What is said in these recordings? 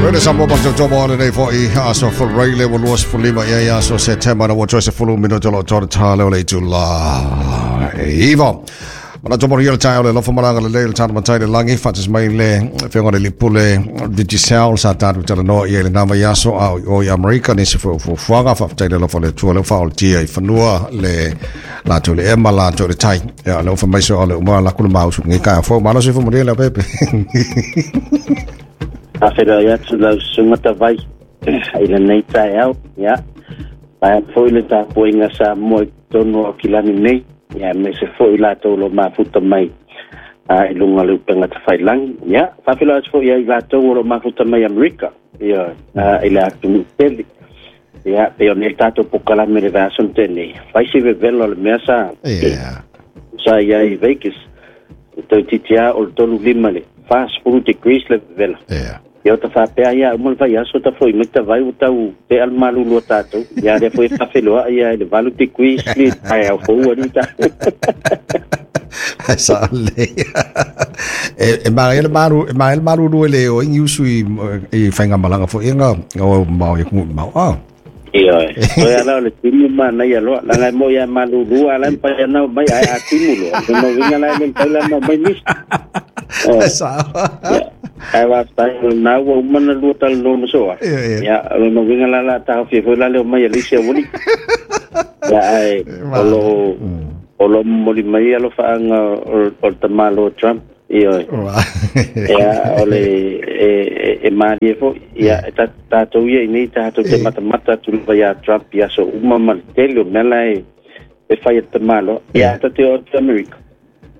Rene sa mo pa tō mo nei fo i aso fo reile wa luas fo lima ia ia aso September na wa choice fo lu minuto lo tō tā leo le tula. Iva. Mana tō mori tai o le lofa maranga le le tāna matai le langi whatas mai le whionga le lipule Digicel sa tātu tala noa ia le nama iaso a o i Amerika nisi fo fo fuanga whaftai le lofa le tua le wha o le tia i whanua le lātou le ema lātou le tai. Ia le ofa maiso o le umara lakula mau su ngi kai fo malo se fo mo le pepe. Awhera i atu lau sungata vai i le nei tae au, ia. Paia foi le tāpoinga sa moe tonu o kilani nei, ia me se foi lātou lo mafuta mai i lunga le upenga te whailangi, ia. Whawhela atu foi ai lātou o lo mafuta mai Amerika, ia, i le atu tele. Ia, pe o nei tātou pokalame le vason tēnei. Whai se vevela o le mea sa, sa ia i Vegas. Tau titia o le tolu lima le 40 degrees le vevela. Ia o ta whapea ia, umal vai aso ta foi, mai ta vai o tau te al malulu o tātou. Ia rea foi whawheloa ia le 8 degrees le tai au fou ani ta. Sa le. E mara ele maru, e mara ele malulu ele o ingi usu i whainga malanga fo inga o mau i kumu mau. Ah. Ia, o ia lao le timu mana ia loa, langa mo ia malulu ala mpai ana mai ai a timu loa. No winga lai le tai la mai mis. Sa. Ai wa tai na wa mana lu tal no no soa. Ia, no winga la la ta fi foi la le mai Alicia woni. Ya ai olo olo moli mai alo faanga o tamalo Trump. Ia. Ia ole e mali fo ia tātou ia nei tātou te matamata tu ia Trump ia so uma mal tele mela e fai tamalo ia ta te o Amerika.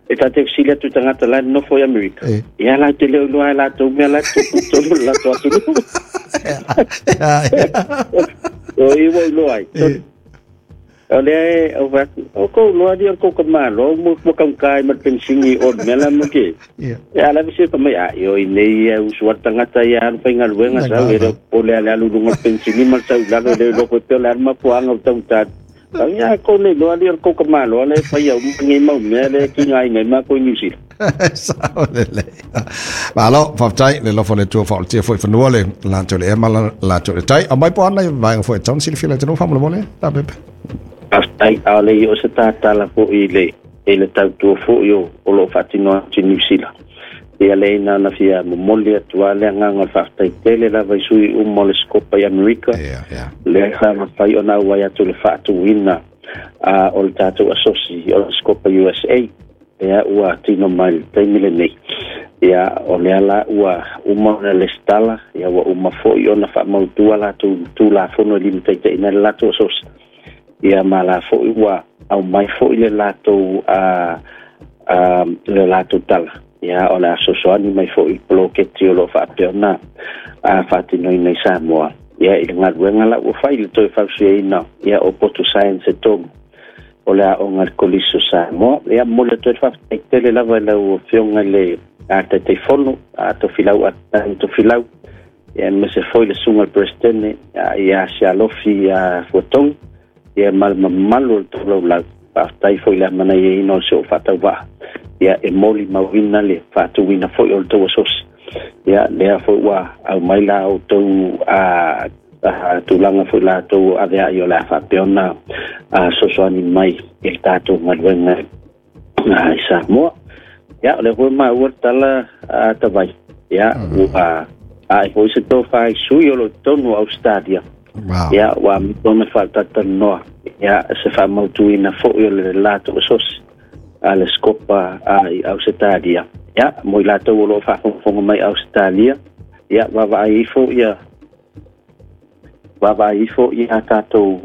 E tā te sila tu tangata la no foi Amerika. Ia la te leo loa la tu mela tu tu la tu tu. O i wo loa. O le o va o ko loa di ko ka malo mo mo ka kai ma pensingi o mela mo ke. Ia la vise pa mai a yo i nei u suat tangata ia an fainga luenga sa le o le ale alu lunga pensingi mal sa la le lo ko te la ma puanga o tau ta. Ia ko le loa di ko ka malo le fa ia ngi mau me le ki ngai ngai ma ko New Zealand. Sa le le. Malo fa tai le lo fo le tu fa le fo fa le la to le ma la to le tai. A mai po ana vai fo tau sili fila te no fa mo le ta pepe. Ai ale o se tātala fo i le tautua fo i o lo whatinoa atu New Zealand. Ia le ina na fia momoli atu ale nganga whaatai tele la vai sui umo le skopa i Amerika. Le sa mawhai o nau wai atu le whaatuina o le tātou asosi o le skopa USA. Ia ua tino mai le taimi le nei. Ia o le ala ua uma na le stala, ia ua uma fo i ona whaamautua lātou tū la fono lima teite ina le lātou asosi. Ia ma la fo ua au mai fo i le lātou le lātou tala. Ia o le asosoani mai fo i bloketi o lo whaapea a whaatinoi nei Samoa. Ia i le ngaluenga la ua whai le toi whausueina ia o Poto Science e tomu. O le a o ngā koliso Samoa. Ia mo le toi whaatai tele lava lau whionga le a te te fono a to filau a to filau. Ia me se foi le sunga le presidente ia se alofi a fuatongi. Ia mal mamalu o le taulau lau. Whaatai foi le mana ia ina o se o whaatau. Ia e moli mauina le whaatuina foi o le tau asosi. Ia lea foi ua au mai la o tau a tūlanga foi la tau avea i o le whaapeona sosoani mai i le tātou ngaluenga i Samoa. Ia o le hoi maua tala tawai. Ia ua a e foi se tō whai sui o lo tonu Australia. Wow. Ia ua mitona whaatatanoa. Ia se whamautuina foi o le lātou asosi a le skopa i Australia. Ia mo i lātou o lo whaafonga mai Australia. Ia wawa ifo ia wawa ifo ia tātou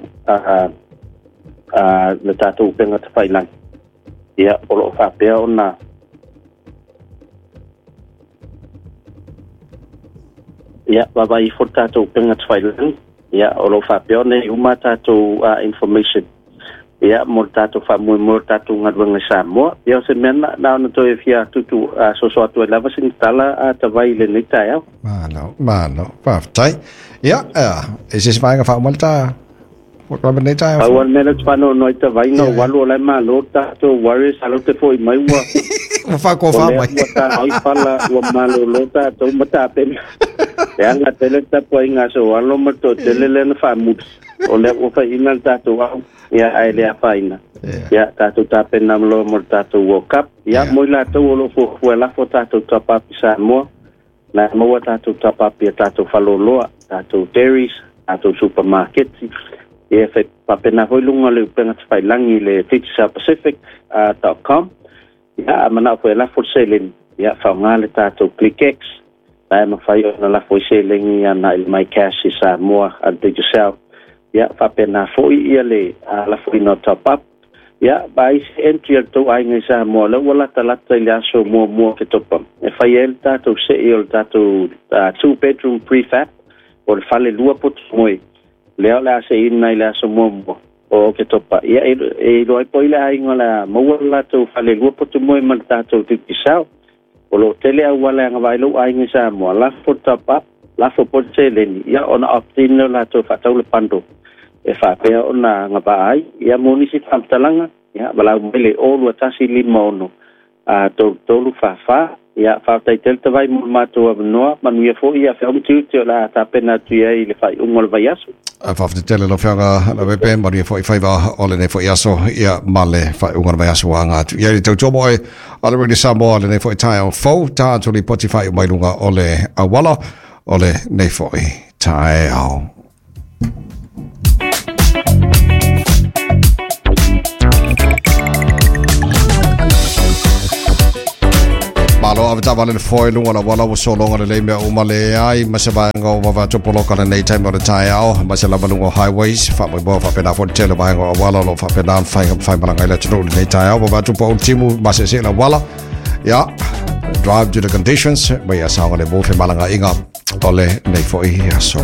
le tātou upenga te whailangi. Ia o lo whaapea ona ia wawa ifo tātou upenga te whailangi. Ia o lo whaapea ona uma tātou information. Ia mo tātou whaamui mo tātou ngaruanga Samoa. Ia o se mea na ona toi fia tutu soso atu e lava sini tala a tawai le nei tai au. Malo, malo, whaatai. Ia, e se se vainga whaamalta Robert nei tai au. Au mea te whanau noi tawai no walu o lai malo tātou Warriors alo te foi mai ua. Ua faakofa O lea mai. Ua taai pala ua malōlō tatou ma tapena e aga tele tapuaiga a sou alo ma toatele lea na faamuli o lea ua faiʻina le tatou au ia ae le afaina ia tatou tapena loa mo le tatou World Cup ia mo i latou o loo fuafua e lafo tatou top-up i Samoa na e maua tatou top-up ia tatou faleoloa tatou dairies tatou supamaketi ia e faapena foi luga o le upega tafailagi i le Digicel Pacific .com ia a manao foi e lafo le seleni ia faaaoga le tatou ClickX la e mafai ona lafo ai seleni agai i le My Cash i Samoa a le Digicel ia faapena foi ia le lafoina o top up ia ma isi entry a le tou aiga i Samoa lea ua latalata i le aso muamua o Oketopa e fai ai le tatou sei o le tatou two bedroom prefab o le fale lua poto moe lea o le a seiina i le aso muamua o Oketopa ia e iloa ai po o ai le aiga o le a maua le latou fale lua poto moe ma le tatou Digicel. O lo o tele auala e agavaa ai lou aiga i Samoa, lafo le top up, lafo po le seleni, ia ona opt-in lea o latou e faatau le bundle e faapea ona agavaa ai. Ia mo nisi faamatalaga, ia valaau mai le 02156 3344. Ia faafetai tele tavai mo le matou avanoa, manuia foi ia feau ma tiute o le a tapena atu i ai i le faaiuga o le vaiaso. Faafetai tele lau Afioga Leaupepe, manuia foi faiva o lenei foi aso ia ma le faaiuga o le vaiaso ua aga atu i ai le tautua moe a le Radio Samoa lenei foi taeao fou tatou lipoti faaiu mai luga o le auala o lenei foi taeao. Malo avetaavale le foe luga o le auala ua sologa lelei mea uma leai ma se vaega o vave atu poloka lenei taimi o le taeao ma se lava luga o highways faamoemoe faapena foi le tele o vaega o auala o lo o faapena ona fai faimalaga i le atunuu lenei taeao vave atu po o le timu maseese le auala ia drive to the conditions ma ia saogalemu femalagaaiga o lenei foi aso.